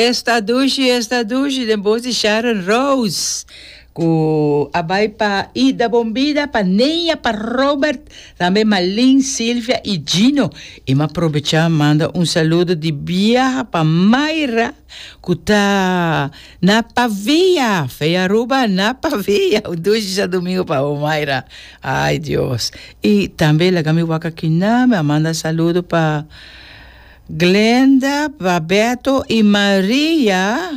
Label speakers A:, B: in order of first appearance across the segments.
A: Esta dushi, esta dushi den bos di Sharon Rose ku a bai pa Ida Bombida, pa Neya, pa Robert, tambe Malin, Silvia i Gino. I m'a probechá manda un saludo di biaha pa Mayra ku ta na Pavia, Fe Aruba na Pavia. Un dushi djadumingu pa bo Mayra. Ai Dios. I tambe laga mi wak aki na, mi a manda saludo pa. Glenda, Babeto y Maria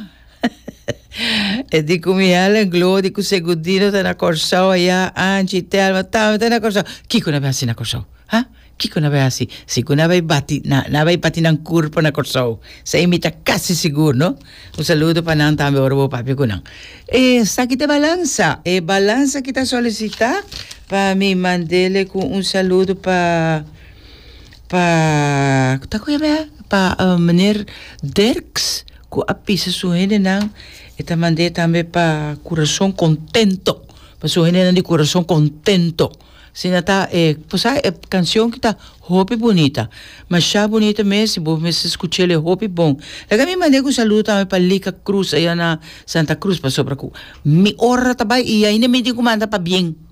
A: E di cu mi Helen, Glody cu Segundino ta na Corsou aya, Angie, Thelma tambe ta na Corsou. Kico nan bay haci na Corsou? Ha? Kico nan bay haci? Sigur nan bay bati, nan bay bati nan curpa na Corsou. Esey mi ta casi sigur, no? Un saludo pa nan tambe ora bo papia cu nan. Esaki ta e balansa. E balansa ki ta solicita pa mi mandele cu un saludo pa. Pa ta ku yama pa meneer Dirks ku a pisa su hendenan e ta mand'é tambe pa kurason kontento pa su hendenan di kurason kontento asina ta e bo sa e kanshon ki ta hopi bunita masha bunita mes si bo mester skuch'el e hopi bon laga mi mand'é ku saludo tambe pa Lika Cruz aya na Santa Cruz pasobra ku mi ora ta bai i ainda mi tin ku manda pabien.